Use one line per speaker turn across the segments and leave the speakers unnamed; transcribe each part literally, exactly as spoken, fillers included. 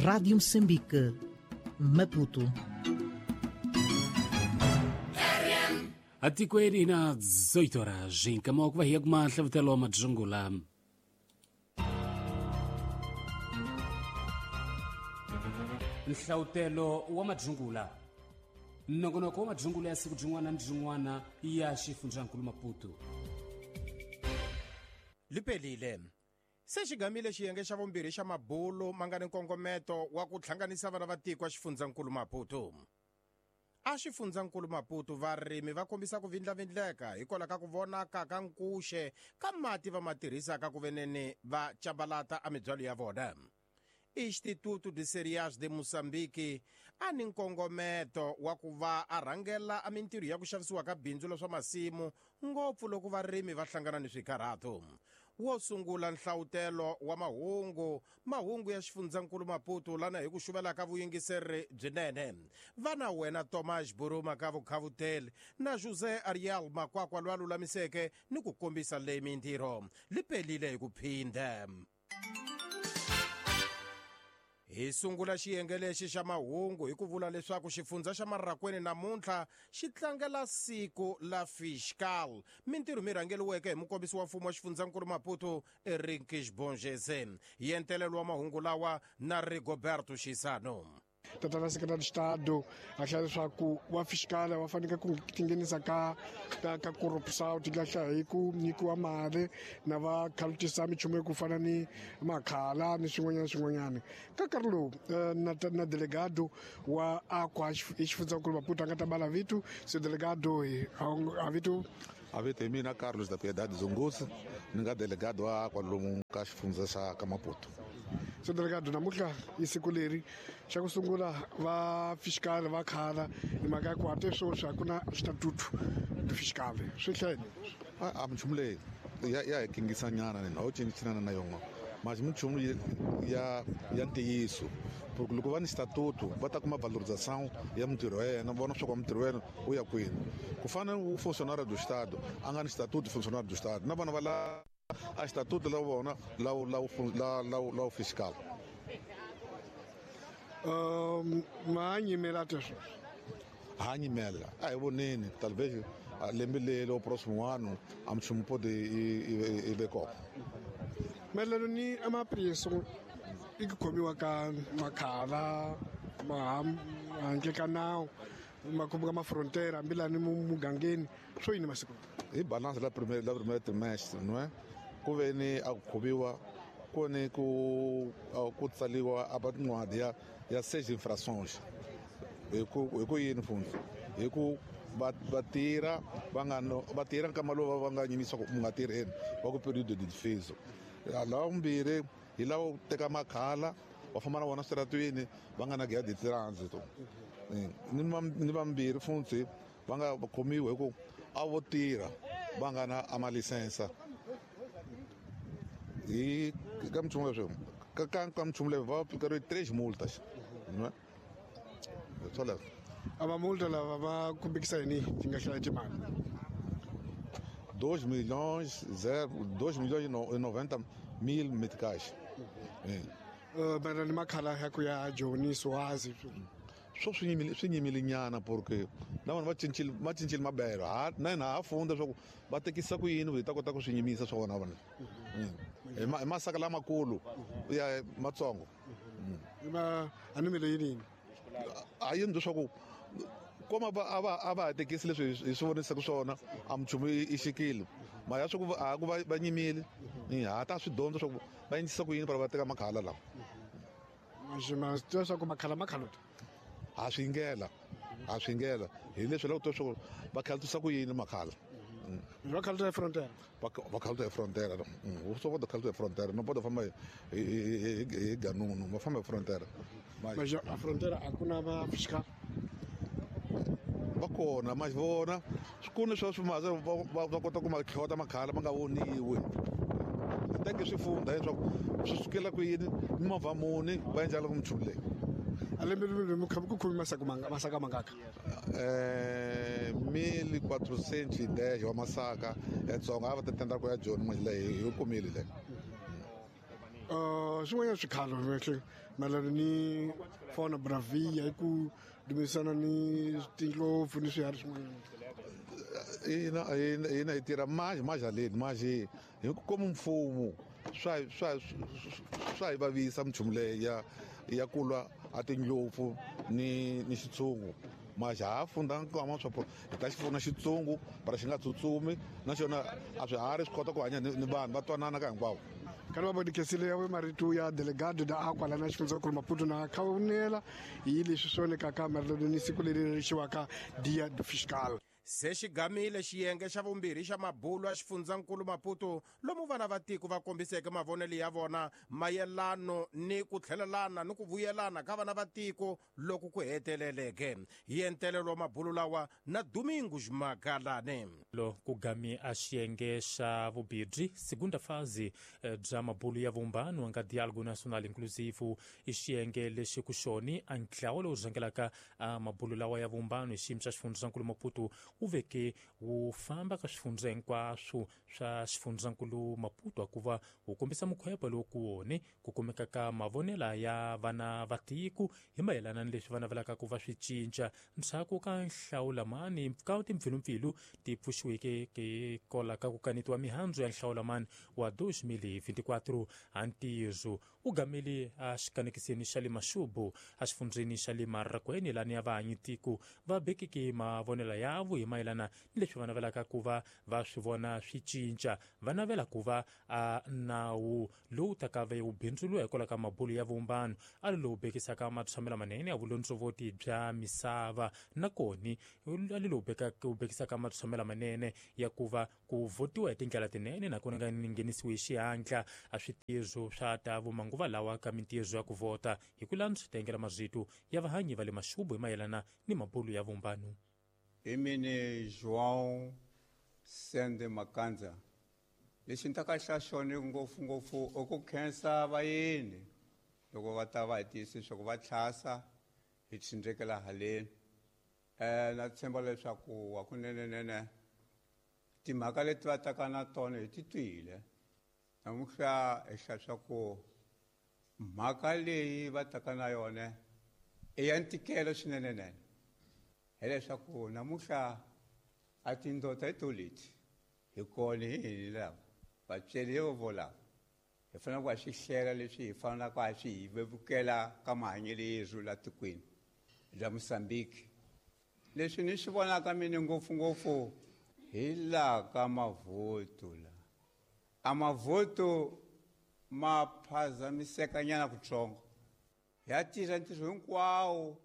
Rádio Moçambique, Maputo.
Atikweni na dezoito horas em Camões vai alguma hlavutelo madzungula. Nhlautelo wa madzungula. Nongonoko wa madzungula ya siku jin'wana ni jin'wana ya xifundzankulu Maputo.
Lipelile. Se xigamile xiyenge xa vumbirhi xa mabulo ma nga ni nkongometo wa ku hlanganisa vana va tiko a xifundzankulu Maputo. A xifundzankulu Maputo varimi va kombisa ku vindlavindleka hikwalaho ka ku vonaka ka nkuxe ka mati va ma tirhisaka ku venene va chabalata a mibyalo ya vona. Instituto de Cereais de Moçambique a ni nkongometo wa ku va a rhangela a mintirho ya ku xavisiwa ka bindzu la swa masimu ngopfu loko varimi va hlangana ni swikarhato. Wo sungula nhlawutelo wa mahungu mahungu ya xifundzankulu Maputo lana hi ku xuvela ka vuyingiseri byinene. Vana wena Thomas Buruma ka Vukhavuteli na José Ariel Makwakwa lwa lulamiseke ni ku kombisa leyi mintirho lipelile hi ku phinda. Hi sungula xiyenge lexi xa mahungu hi ku vula leswaku xifundza xa Marrakwene namuntlha xi tlangela siku la fiscal. Mintirho mi rhangeliweke hi mukombisi wa mfumo wa xifundzankulu Maputo Eric Bongese. Yentelelo wa mahungu lawa na Rigoberto Xisano.
Tatana Secretary de Estado acha leswaku wa fiscal wa fanele ku tinghenisa ka ka ka corruption ti lahla hi ku nyikiwa mali na va khalutisa minchumu ku fana ni makhala ni swin'wanyana swin'wanyana ka nkarhi lowu na na delegado wa aqua xifundzankulu Maputo a nga ta bala vitu se delegado a vitu
a vito hi mina Carlos da Piedade Zunguzi ni nga delegado wa kwalomu ka xifundza xa ka Maputo.
So delegado namuntlha i siku leri xa ku sungula va fiscal va khala hi mhaka ya ku hate sweswi a ku na statuto de fiscal swi hlayini
a minchumu leyi ya ya hi kingisanyana nina a wu cincinana na yona mas minchumu ya ya ntiyiso porque loko va ni statuto va ta kuma valorização ya mintirho ya yena vona swa ku mintirho ya yena u ya kwini ku fana u funcionário do estado a nga ni statuto funcionário do estado na vona va la a estatuto la vona la la la la la fiscal.
Um ma nyimela teswo
ha nyimela a hi voneni talvez lembe leri o próximo ano a minchumu pode i ve kona.
Mayelana ni amapreço i ku khomiwa ka makhala ma handle ka nawu makhombo ka mafrontiere hambi lani mugangeni swo yini masiku
hi balance la premier la premier trimestre não é ku ve ni a ku khomiwa ku ni ku ku tsaliwa a tin'wadi ya ya seis infrações hi ku hi ku yini fundi hi ku va va tirha va nga va tirha nkama lowu va nga nyimisa ku mu nga tirheni va ku período de defeso. Lava vumbirhi hi lava ku teka makhala va famba na vona switaratwini va nga na guia de trânsito. Ni ni vambirhi futhi va nga khomiwi hi ku a vo tirha va nga na a malisensa. Hi ka minchumu leswi ka ka ka minchumu leyi va pikeriwe três multas. Swoleswo.
A va multa lava va kumbekisa yini ti nga hlaya timali?
dois milhões zero dois milhões e noventa mil meticais.
Mayelana ni makhala ya ku ya Joni Swazi
swo swi nyimile swi nyimile nyana porque na vona va cincile va cincile mabelo ha na hina ha funda leswaku va tekisa ku yini hi ta kota ku swi nyimisa swa vona vona hi hi masaka lamakulu ya matsongo
ma a ni mele yini
a yini leswaku koma va a va a va tekisi leswi hi swi vonisaka swona a minchumu i xikile mara ya swa ku a ku va va nyimile ha ta swi dyondza swa ku va endlisa ku yini para va teka makhala lawa
ma swi tiva swa ku makhala makhala
ha swi ngela ha swi ngela hi leswi loko twa swa ku va khalatisa ku yini makhala
va khalatisa hi frontier
va khalatisa hi frontier swo va khalatisa hi frontier no bodo famba hi hi ganunu va famba hi frontier
mas a frontier a ku na va fiscal
va kona ma vona ku ni swa swimaza va kota ku ma tlhota makhala ma nga voniwi teke swi funda leswaku swi sukela ku yini mimovha muni va endla ku minchumu leyi.
A lembe lembe mi kha ku khomi masaka manga masaka mangaka
eh mil quatrocentos e dez wa masaka etsonga a va ta tenda ku ya Joni manje leyi hi kumile leyi.
Uh, swin'wanyana swikhalo kahle mayelana ni fauna bravia hi ku dumisana ni tindlopfu ni swiharhi swin'wanyana.
Ina ina hi tirha manje majaleni manje hi como mfumo swa swa swa hi vavisa minchumu leyi ya ya ku lwa a tindlopfu ni ni xitshungu. Mas ha funda nkwama swa hi ta xi pfuna xitsungu para xi nga tsutsumi naswona a swiharhi swi kota ku hanya ni vanhu va twanana ka hinkwavo.
Kana va bodikesile ya marito ya delegado da akwa lana xifundzankulu Maputo na khawunela hi leswi swi vonekaka mayelana ni siku leri rixiwaka Dia do Fiscal.
Se xi gamile xiyenge xa vumbirhi xa mabulo ya xifundzankulu Maputo lomu vana va tiko va kombiseke mavonelo ya vona mayelano ni ku tlhelelana ni ku vuyelana ka vana va tiko loko ku heteleleke. Hi entelelo wa mabulo lawa na Domingos Magalane.
Lo ku gami a xiyenge xa vumbirhi segunda fase bya mabulo ya vumbano nga Diálogo Nacional Inclusivo i xiyenge lexi ku xoni a ntlawa lowu rhangelaka a mabulo lawa ya vumbano hi xiyimo xa xifundzankulu Maputo wu veke wu famba ka swifundza hinkwaswo swa xifundzankulu Maputo hikuva wu kombisa mukhwepo lowu ku wone ku kumeka ka mavonela ya vana va tiko hi mayelana ni leswi va navelaka ku va swi cinca ndzhaku ka nhlawulamani ka timpfilumpfilu ti pfuxiweke ke kola ka ku kanetiwa mihandzu ya nhlawulamani wa dois mil e vinte e quatro. Antizo u gamile a xikanekiseni xa le Maxubu a xifundzeni xa le Marrakweni lani ya vahanyi tiko va bekeke mavonela yavo hi mayelana ni leswi va navelaka ku va va swi vona swi cinca. Va navela ku va a nawu lowu taka ve wu bindzuriwa hikwalaho ka mabulo ya vumbano a lowu bekisaka matshamelo manene ya vulondzovoti bya misava nakoni a lowu bekaka wu bekisaka matshamelo manene ya ku va ku votiwa hi tindlela tinene nakona nga nghenisiwi hi xihatla a switirho swa ta vumanguva lawa ka mintirho ya ku vhota hi ku landza tengela mazito ya vahanyi va le Maxubu hi mayelana ni mabulo ya vumbano.
Imini João Sende Makanza lexi ni ta ka xa xona ngopfungopfu i ku khensa vayeni loko va ta va hi tiyisa leswaku va tlhasa hi tshindrekela haleni. um na tshemba leswaku hakunenenene timhaka leti va taka na tona hi ti twile namuntlha hi hlaya swa ku mhaka leyi va taka na yona i ya ntikelo swinenenene hileswaku namuntlha a tindota hi to leti hi kona hi hini lava vatsweri vo lava hi fanele ku ha swi hlela leswi hi fanelaka ha swi hi vevukela ka mahanyelo yerhu la tikweni bya Mozambique. Leswi ni swi vonaka mina ngopfungopfu hi laha ka mavhoto la a mavhoto ma phazamisekanyana kutsongo ya tirha ntirho hinkwawo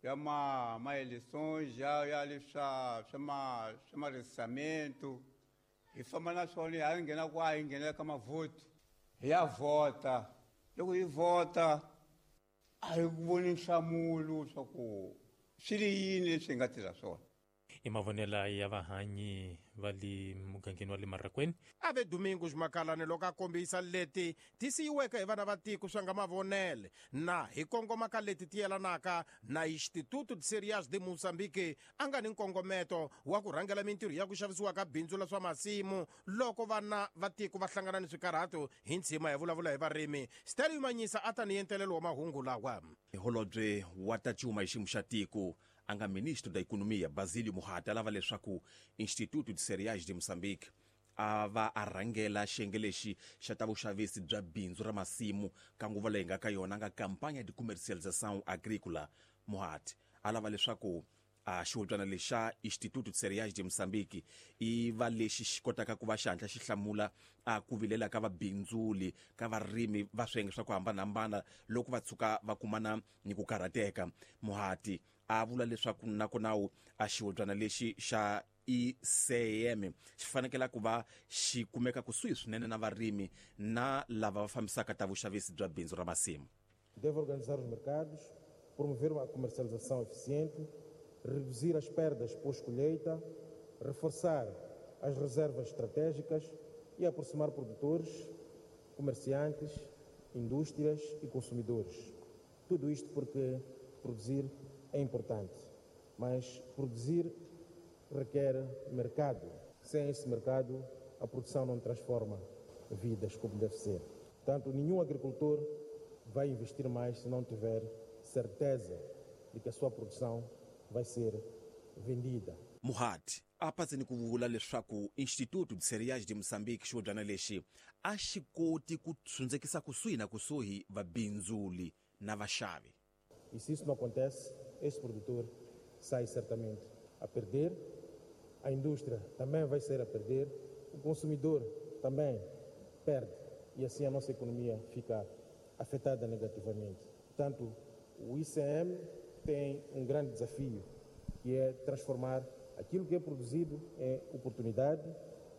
ya ma ma-eleições ya ya leswa swa ma swa maregisamento hi famba na swona hi nghena kwa hi nghena ka mavhoto hi ya vhota. Loko hi vhota a hi voni nhlamulo swa ku swi ri yini leswi hi nga tirha swona.
I mavonela ya vahanyi va le mugangeni wa le Marrakweni.
A ve Domingos Makalane loko a kombisa leti ti siyiweke hi vana va tiko swa nga mavonele na hi kongoma ka leti ti yelanaka na Instituto de Cereais de Moçambique a nga ni nkongometo wa ku rhangela mintirho ya ku xavisiwa ka bindzu la swa masimu loko vana va tiko va hlangana ni swikarhato hi ntshima hi vulavula hi varimi. Stanley Manyisa a ta ni entelelo wa mahungu lawa.
Holobye wa ta cuma hi xiyimo xa tiko a nga ministro da Economia Basílio Muhata lava leswaku Instituto de Cereais de Moçambique a va a rhangela xiyenge lexi xa ta vuxavisi bya bindzu ra masimu ka nguva leyi nga ka yona nga campaña de comercialização agrícola. Muhati a lava leswaku a xihubyana lexa Instituto de Cereais de Moçambique i va lexi xi kotaka ku va xihatla xi hlamula a ku vilela ka vabindzuli ka varimi va swiyenge swa ku hambanahambana loko va tshuka va kumana ni ku karhateka. Muhati a vula leswaku nakona a xihubyana lexi xa I C M xi fanekela ku va xi kumeka kusuhi swinene na varimi na lava va fambisaka ta vuxavisi bya bindzu ra masimu.
Deve organizar os mercados, promover uma comercialização eficiente, reduzir as perdas pós-colheita, reforçar as reservas estratégicas e aproximar produtores, comerciantes, indústrias e consumidores. Tudo isto porque produzir é importante, mas produzir requer mercado. Sem esse mercado, a produção não transforma vidas como deve ser. Portanto, nenhum agricultor vai investir mais se não tiver certeza de que a sua produção vai ser vendida.
Muhati a patseni ku vula leswaku Instituto de Cereais de Moçambique xivobyana lexi a xi koti ku tshundzekisa kusuhi na kusuhi vabindzuli na vaxavi.
E se isso não acontece, este produtor sai certamente a perder, a indústria também vai ser a perder, o consumidor também perde e assim a nossa economia fica afetada negativamente. Portanto, o I C M tem um grande desafio, que é transformar aquilo que é produzido em oportunidade,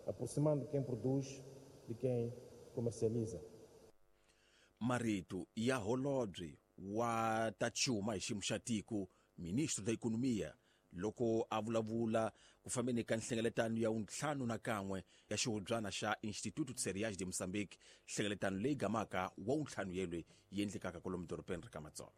aproximando quem produz de quem comercializa.
Marito ya holobye wa ta xuma hi xiyimo xa tiko, ministro da Economia, loko a vulavula ku fambeni ka nhlengeletano ya vuntlhanu na kan'we ya xihubyana xa Instituto de Cereais de Moçambique, nhlengeletano leyi gamaka wa vuntlhanu yelwe yi endlekaka kwalomu dorobeni ra ka Matsolo.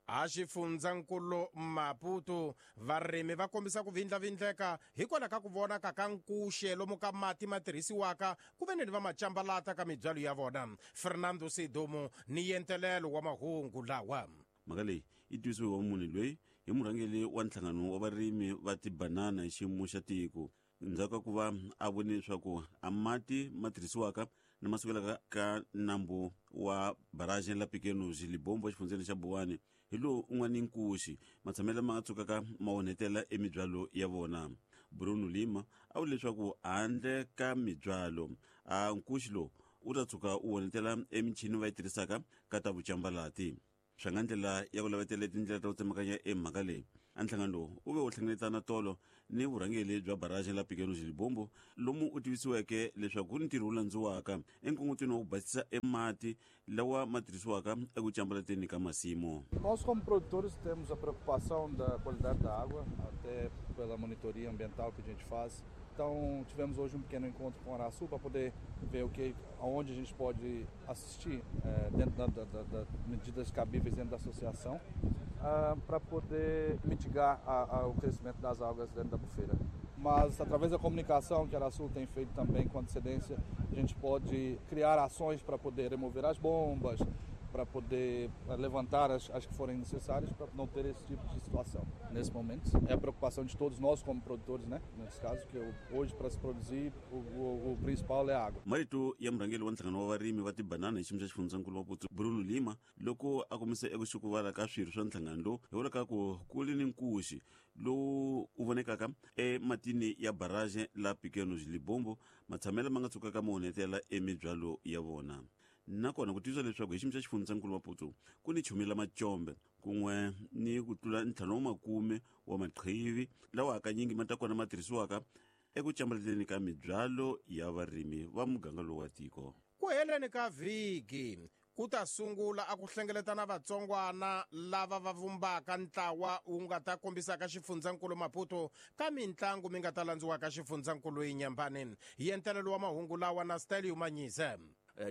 A xifundzankulu Maputo varimi va kombisa ku vindlavindleka hikwalaho ka ku vonaka ka nkuxe lomu ka mati ma tirhisiwaka ku ve ni va macambalata ka mibyalo ya vona. Fernando Sidumo ni yentelelo wa mahungu lawa.
Mhaka leyi yi tivisiwe wa munhu loyi hi murhangeri wa nhlangano wa varimi va tibanana hi xiyimo xa tiko ndzhaku ka ku va a vone leswaku a mati ma tirhisiwaka na ma sukelaka ka nambu wa barrage la Pequenos Libombo exifundzeni xa Buwani hi lowu un'wana nkuxi matshamelo ma nga tsukaka ma onhetela emibyalo ya vona. Bruno Lima a vula leswaku handle ka mibyalo a nkuxi lowu wu ta tshuka wu onhetela emichini va yi tirhisaka ka ta vucambalati. Swa nga ndlela ya ku lavetela tindlela ta ku tsemakanya emhaka leyi a nhlangano lowu wu ve wu hlengeletana tolo ni vurhangeri bya barrage la Pequenos Libombo lomu u tivisiweke leswaku ku ni ntirho wu landziwaka enkungutweni wa ku basisa emati lawa ma tirhisiwaka eku cambalateni ka masimu.
Nós como produtores temos a preocupação da qualidade da água, até pela monitoria ambiental que a gente faz. Então tivemos hoje um pequeno encontro com o Araçu para poder ver o que, aonde a gente pode assistir é, dentro da, da, da, da medidas cabíveis dentro da associação, uh, para poder mitigar a, a, o crescimento das algas dentro da bufeira. Mas através da comunicação que a Araçu tem feito também com antecedência, a gente pode criar ações para poder remover as bombas, para poder levantar as, as que forem necessárias para não ter esse tipo de situação. Nesse momento, é a preocupação de todos nós como produtores, né? Nesse caso, que hoje para se produzir, o, o, o principal é a água.
Marito ya murhangeri wa nhlangano wa varimi va tibanana hi xiyimo xa xifundzankulu Maputo Bruno Lima loko a kombisa eku xukuvala ka swirho swa nhlangano lowu hi vula ka ku ku li ni nkuxi lowu wu vonekaka ematini ya barrage la Pequenos Libombo matshamelo ma nga tsukaka ma onhetela emibyalo ya vona. Nakona ku tivisa leswaku hi xiyimo xa xifundzankulu Maputo ku ni chumi la macombe kun'we ni ku tlula ntlhanu wa makume wa maqhivi lawa hakanyingi ma ta kona ma tirhisiwaka eku cambaleteni ka mibyalo ya varimi va muganga lowu wa tiko.
Ku heleni ka vhiki ku ta sungula a ku hlengeletana vatsongwana lava va vumbaka ntlawa wu nga ta kombisaka xifundzankulu Maputo ka mintlangu mi nga ta landziwaka xifundzankulu Inyambani. Yentelelo wa mahungu lawa na Stelio Manyise.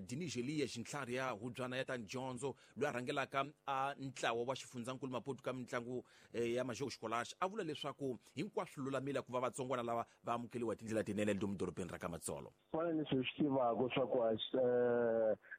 Diniz Elias ntlhari ya hubyana ya ta dyondzo loyi a rhangelaka a ntlawa wa xifundzankulu Maputo ka mitlangu ya Major Escolar a vula leswaku hinkwaswo lulamile ku va vatsongwana lava va amukeliwa hi tindlela tinene lomu dorobeni ra ka Matsolo.
Fana leswi hi swi tivaka swa ku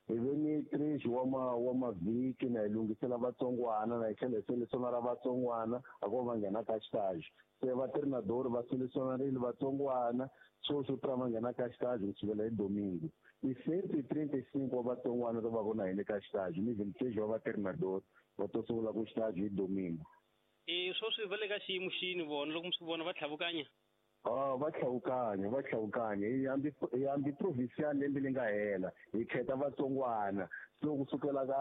hi ve ni três wa ma wa mavhiki na hi lunghisela vatsongwana na hi tlhela hi selesionara vatsongwana a ku va va nghena ka xitaji se va treinador va selesionarile vatsongwana sweswi pra va nghena ka xitaji ku sukela hi domingo. I cento e trinta e cinco wa vatsongwana va va na hina ka xitaji ni vinte e seis wa va treinador va to sungula ku xitaji hi domingo.
E sweswi va le ka xiyimo xini vona loko mi swi vona va tlhavukanya?
Ah, va tlhavukanya, va tlhavukanya. Hi hambi hi hambi provincial lembe leri nga hela hi khetha vatsongwana so kusukela ka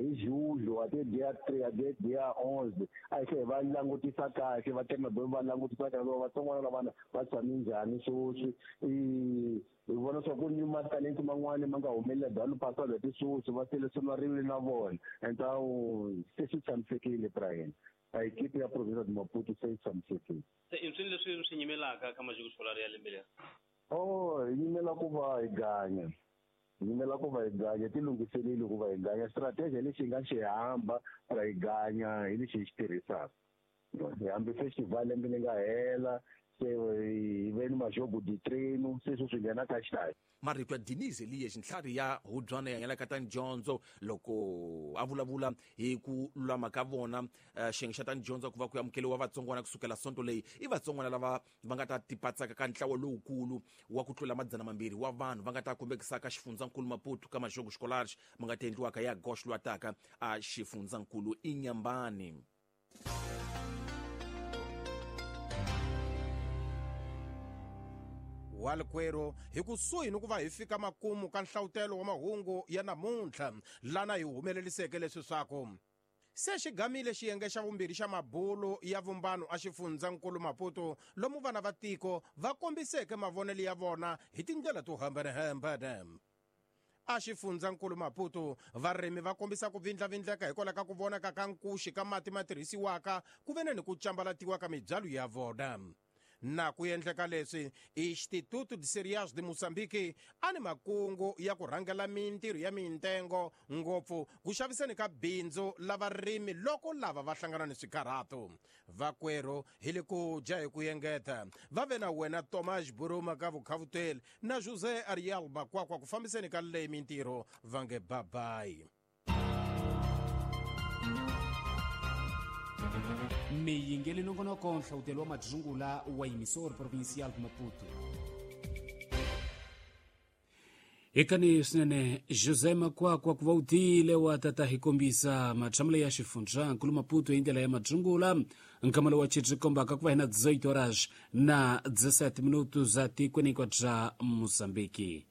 hi julho até dia três até dia onze a hi tlhela hi va langutisa kahle va treinador va langutisa kahle va vatsongwana lavana va tshame njhani sweswi i hi vona swa ku ni matalenti man'wani ma nga humelela dalo pasado hi sweswi va selesionarile na vona então se swi tshamisekile Brian. A equipe ya província de Maputo se yi tshamisekile.
Se i swilo leswi swi nyimelaka ka Major Escolar ya lembe leri?
Oh, hi nyimela ku va hi ganya. Hi nyimela ku va hi ganya, ti lunghiseleli ku va hi ganya. Strategy lexi hi nga xi hamba ra hi ganya hi lexi hi xi tirhisaka. Hi hambi festival lembe leri nga hela Se hi ve ni majogo de treino, se swi nghena ka xitayi.
Marito ya Denise Elias ntlhari ya hubyana ya ka ta dyondzo loko a vulavula hi ku lulama ka vona xiyenge xa ta dyondzo ku va ku amukeliwa vatsongwana kusukela sonto leyi i vatsongwana lava va nga ta tipatsaka ka ntlawa lowukulu wa ku tlula madzana mambirhi wa vanhu va nga ta kombekisaka xifundzankulu Maputo ka majogo scolares ma nga ta endliwaka ya gosh lwataka a xifundzankulu Inyambani.
Walkwero hi kusuhi ni ku va hi fika makumu ka nhlawutelo wa mahungu ya namuntlha lana hi humeleliseke leswi swaku se xigamile xiyenge xa vumbirhi xa mabulo ya vumbano a xifundzankulu Maputo lomu vana va tiko va kombiseke mavonelo ya vona hi tindlela to hambanahambana. A xifundzankulu Maputo varimi va kombisa ku vindlavindleka hikwalaho ka ku vonaka ka nkuxi ka mati ma tirhisiwaka ku ve ni ku cambalatiwa ka mibyalo ya vona. Na ku endleka leswi Instituto de Cereais de Moçambique a ni makungu ya ku rhangela mintirho ya mintengo ngopfu ku xaviseni ka bindzu la varimi loko lava va hlangana ni swikarhato. Vakwerhu hi le ku dya hi ku engeta va ve na wena Thomas Buruma ka vukhavuteli na José Ariel Makwakwa ku fambiseni ka leyi mintirho va nge babayi.
Miyingeli nongonoko nhlawutelo wa madzungula wa emissor provincial Maputo.
Hikani swinene José Makwakwa ku va u tile wa tata hi kombisa matshamelo ya xifundzankulu Maputo hi ndlela ya madzungula nkamelo wa chitri kombaka ku va hina dezoito horas na dezessete minutos za tikweni hinkwabyo bya Mozambique.